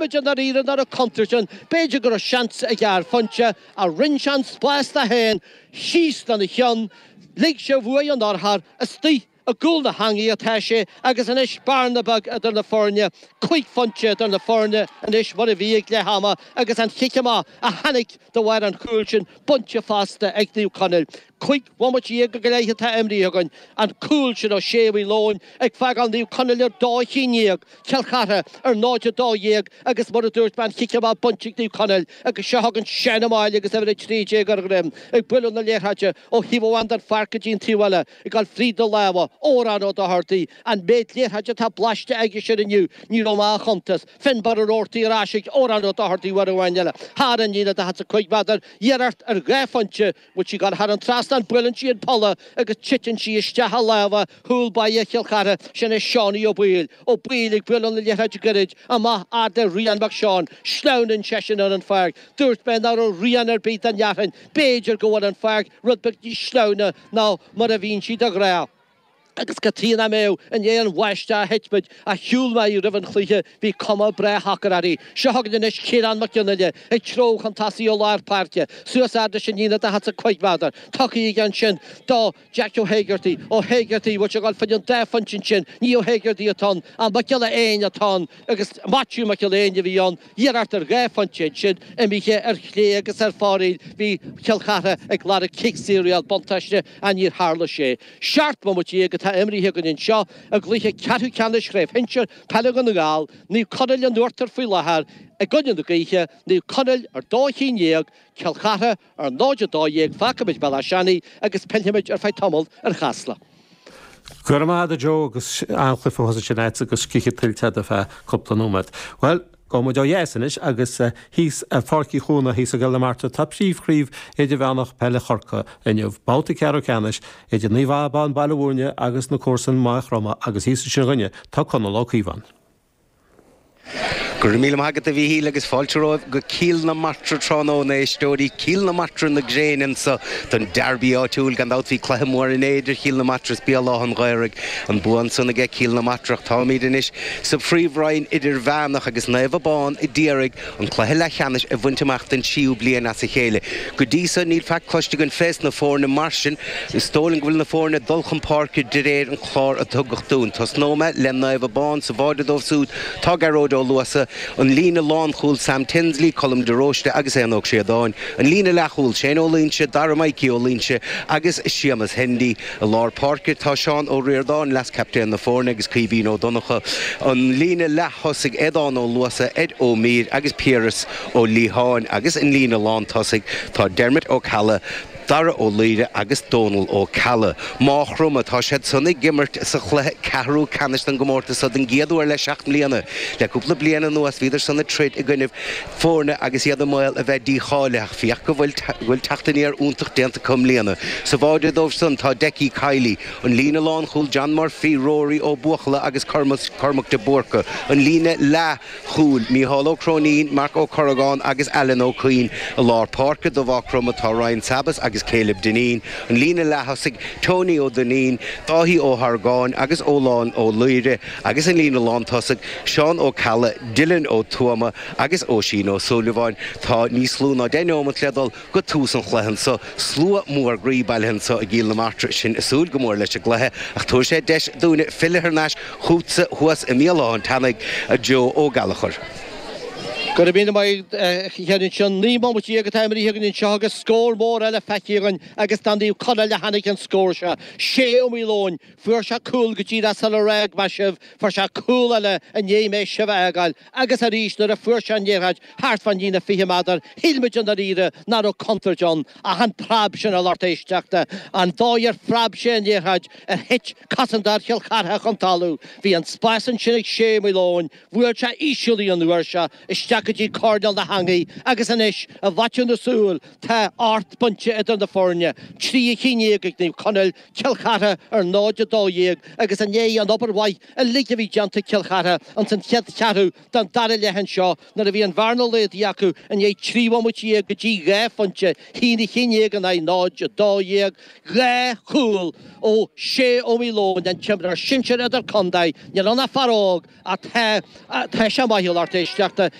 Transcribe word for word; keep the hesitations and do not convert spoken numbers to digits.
muid i ndáiríre nach raibh contúirt ann. B'fhéidir go raibh seans ag ar phointe ach rinne sé an spás dó féin síos lena cheann, lig sé uaidh an urchar istigh i gcúl na heangaí atá sé agus anois bearna beag idir na foirne, cúig phointe idir na foirne anois mar a bhí ag leath ama agus an chic amach a tháinig de bharr an chúil sin bainte fosta ag Naomh Conaill. Cúig bhomaite déag go leith atá imrithe againn, an cúl sin ó Shé Mhaoil Eoin ag fágáil Naomh Conaill ar dó chinn déag, Cill Chartha ar náid a dó dhéag agus mar a dúirt mé an chic amach bainte ag Naomh Conaill agus seo chugainn Seán Ó Máille agus uimhir a trí déag ar a dhroim ag bualadh na liathróide ó thaobh amháin den pháirc go dtí an taobh eile ag dul fríd na lámha, Odhrán Ó Dochartaigh, an méid liathróide atá blaiste aige sin inniu, ní raibh mé á chuntas. Finbarr Ó Roarty ar ais ag Odhrán Ó Dochartaigh uair amháin eile thar an líne daichead is a cúig méadar, iarracht ar dhá phointe, bhfuil sí ag dul thar an trasnán, buaileann sí an polla agus titeann sí isteach i lámha chúl báire Chill Chartha, sin é Seánie Ó Baoill. Ó Baoill ag bualadh na liathróide gairid amach fhad le Rian Mac Seáin. Sleamhnann seisean ar an pháirc. Dúirt mé nach raibh rian ar bith den fhearthainn. B'fhéidir go bhfuil an pháirc rud beag níos sleamhna ná mar a bhíonn sí de ghnáth. Agus cad chuige nach mbeadh, i ndiaidh an bháisteach a thit muid, ach shiúil mé roimh an chluiche, bhí cuma breá shocair uirthi. Seo chugainn anois Ciarán Mac Fhionnghaile ag treabhadh chun tosaigh ó lár páirce, suas fhad leis an líne daichead is a cúig méadar. Tugtha aige ansin do Jack Ó hÉigeartaigh. Ó hÉigeartaigh, bhfuil sé ag dul fá choinne an dá phointe ansin? Ní Ó hÉigeartaigh atá ann, ach Mac Giolla Éin atá ann agus Maitiú Mac Giolla Éin a bhí ann. Iarracht ar dhá phointe ansin, imithe ar chlé agus ar fóraoil. Bhí Cill Chartha ag lorg cic saor a fháil, buntáiste, ach níor tharla sé. Seacht mbomaite déag atá imrithe againn anseo i gcluiche ceathrú ceannais Chraobh Shinsir Peile Dhún na nGall, Naomh Conaill in uachtar faoi láthair i gcoinne na gaoithe, Naomh Conaill ar dó chinn dhéag, Cill Chartha ar náid a dó dhéag. Fágfaimid Béal Átha Seanaidh agus pillfimid ar feadh tamaill ar Chasla. Go raibh maith agat a Joe agus an-chluiche thuas ansin agat agus scíth tuillte agat ar feadh cúpla nóiméad. Bhuel, gabhfaidh muid ó dheas anois agus thíos ar Pháirc Uí Chuana thíos i gCill na Martra tá príomhchraobh idirmheánach peile Chorcaí inniu, babhta ceathrú ceannais idir Naomh Abán Baile Bhúirne agus na comharsana Maigh Chromtha agus thíos ansin dhúinne tá Conall Ó Caoimhín. Go raibh míle maith agat a Mhíchíl agus fáilte romhaibh go Cill na Martra tráthnóna éisteoirí Cill na Martra na gréine anseo don derby áitiúil gan dabht bhí cluiche mór inné idir Chill na Martra is Béal Átha an Ghaorthaidh an bua ansan aige Cill na Martra ach táimid anois sa phríomhroinn idirmheánach agus Naomh Abán a d'iarraidh an cluiche leathcheannais a bhaint amach den tríú bliain as a chéile. Go dtí so níl faic cloiste againn fés na foirne mar sin is dóigh liom go bhfuil na foirne ag dul chun páirce de réir an chlár a tugadh dúinn. Tosnóidh mé le Naomh Abán sa bháide dóibh siúd tá Gearóid Ó Luasa, an líne lánchúil Sam Tinsley, Colm de Róiste agus Éanna Ó Críodáin, an líne leathchúil Shane Ó Loinsigh, Dara Mikey Ó Loinsigh agus Séamus Hendy. I lár páirce tá Seán Ó Ríordáin, leas-chaptaen na foirne agus Caoimhín Ó Donncha, an líne leath-thosaigh Aodán Ó Luasa, Ed Ó Mír agus Piaras Ó Liatháin agus an líne lántosaigh tá Dermot Ó Ceallaigh, Dara Ó Laoire agus Dónal Ó Ceallaigh. Maigh Chromtha, tá siad san ag imirt sa chluiche ceathrú ceannais den gcomórtas seo den gcéad uair le seacht mbliana. Le cúpla bliain anuas bhíodar san ag troid i gcoinnibh foirne agus iad i mbaol a bheith dícháilithe ach féach go bhfuil bhfuil teacht aniar iontach déanta acu i mbliana. Sa bháide dóibh san tá Decky Kiley, an líne lánchúil John Murphy, Rory Ó Buachalla agus Cormac de Búrca, an líne leath chúil, Mícheál Ó Cróinín, Marc Ó Corragáin agus Alan Ó Cuinn. I lár páirce do Mhaigh Chromtha tá Ryan Sabas agus Caleb Dineen, an líne leath-thosaigh Tony Ó Duinnín, Dáithí Ó hArgáin agus Ólán Ó Laoire agus an líne lántosaigh Seán Ó Ceallaigh, Dylan Ó Tuama agus Oisín Ó Súilleabháin. Tá níos lú ná deich neomat le dul go tús an chluiche anseo. Slua mór groí bailithe anseo i gCill na Martra, sinn ag súil go mór leis an gcluiche ach tabharfaidh sé deis dúinne filleadh thar n-ais chugatsa thuas i mBéal Átha an tSeanaidh, a Joe Ó Gallchóir. Go raibh míle maith agat ansin. Naoi mbomaite déag atá imrithe againn anseo agus scór mór eile feicthe againn agus do Naomh Conaill a tháinig an scór seo. Sé Ó Maoileoin. Fuair sé cúl go díreach sular fhág mé sibh. Fuair sé cúl eile i ndiaidh mé sibh a fhágáil agus arís nuair a fuair sé an liathróid thart fán líne fiche méadar, shíl muid i ndáiríre nach raibh contúirt ann ach an preab sin a lucht éisteachta, an dóigh ar phreab sé an liathróid ar thit cosantóir Chill Chartha chun talaimh. Bhí an spás ansin ag Sé Ó Maoileoin, bhuail sé íseal í an uair seo isteach go dtí coirnéal na heangaí agus anois i bhfaiteadh na súl tá ocht bpointe idir na foirne, trí chinn déag ag Naomh Conaill, Cill Chartha ar náid a dó dhéag agus i ndiaidh an obair mhaith uilig a bhí déanta ag Cill Chartha ins an chéad cheathrú den dara leath anseo nuair a bhí an bhearna laghdaithe acu i ndiaidh trí bhomaite dhéag go dtí dhá phointe, haon a haon déag in aghaidh náid a dó dhéag, dhá chúl ó Shé Ó Maoileoin, an t-imreoir sinsir idir-chontae, níl ann ach fear óg ach tá, tá sé maith a lucht éisteachta.